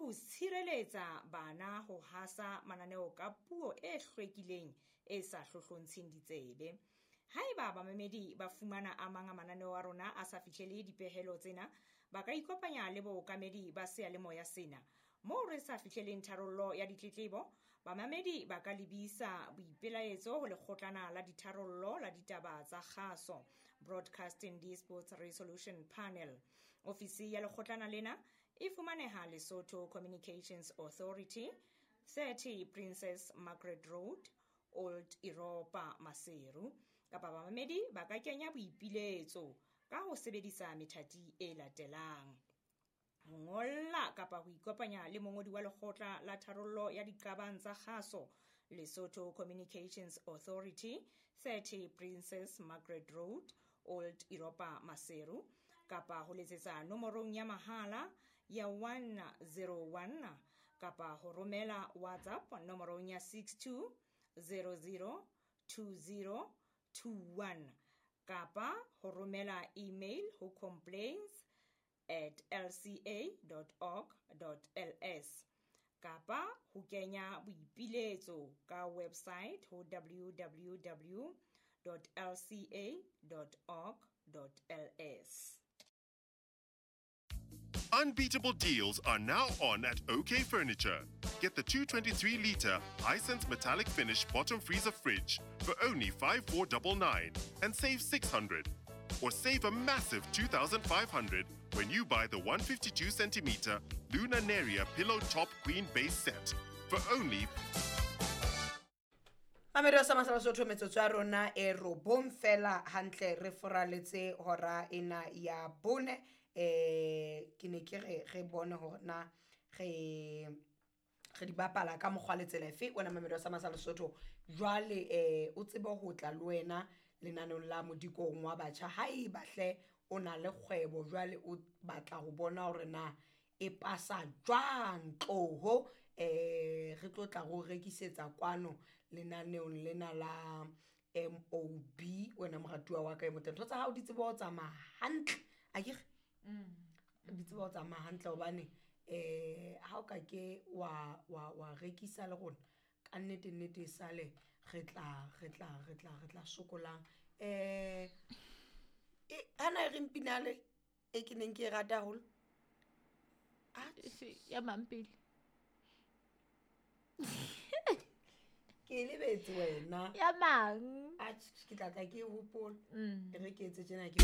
ho tshireletsa bana ho hasa mananeo ka puo e hlwekileng e sa hlohlontsheng ditsebe. Haeba bamamedi ba fumana a mang a mananeo a rona a sa fihlele dipehelo tsena, ba ka ikopanya le bookamedi ba seyalemoya sena. Moo re sa fihleleng tharollo ya ditletlebo, bamamedi ba ka lebisa boipelaetso ho lekgotlana la ditharollo la ditaba tsa kgaso, Broadcasting Disputes Resolution Panel. Ofisi ya lekgotlana lena e fumaneha Lesotho Communications Authority, 30 Princess Margaret Road, Old Europa, Maseru. Kapa bamamedi ba ka kenya boipiletso ka ho sebedisa methati e latelang: ho ngolla kapa ho ikopanya le mongodi wa lekgotla la tharollo ya diqabang tsa kgaso, Lesotho Communications Authority, 30 Princess Margaret Road, Old Europa, Maseru, kapa ho letsetsa nomorong ya mahala ya 101 kapa ho romela WhatsApp nomorong ya 62 00 20 21 kapa ho romela email ho complaints@lca.org.ls kapa ho kenya boipiletso ka website ho www.lca.org.ls. Unbeatable deals are now on at OK Furniture. Get the 223 litre Hisense metallic finish bottom freezer fridge for only 5499 and save 600. Or save a massive 2500 when you buy the 152 centimeter Luna Neria pillow top queen base set for only Mamedi sa Masala Sotho, metsotso ya rona e 9 fela hantle re foraletse hora ena ya 4. Ke ne ke re re bone hore na re di bapala ka mokgwa le tsela efe. Wena mamedi sa Masala Sotho, jwale o tsebe ho tla le wena lenaneong la Modikong wa Batjha. Ha e bahle o na le kgwebo, jwale o batla ho bona hore na e pasa jwang, tloho re tlo tla go rekisetsa kwano lenaneong lena la MOB. Wena moratuwa wa ka e motle, ntho tsa hao di tsebe ho tsamaya hantle, akere di tsebe ho tsamaya hantle, hobane ha o ka ke wa rekisa le rona ka nnete nnete, e sale re tla sokolang. Hana e reng pinale e ke neng ke e rata haholo? Efe? Ya mang pele? Ke e lebetse wena. Ya mang? Atjhe, ke tla tla ke e hopola. E re ke etse tjena ke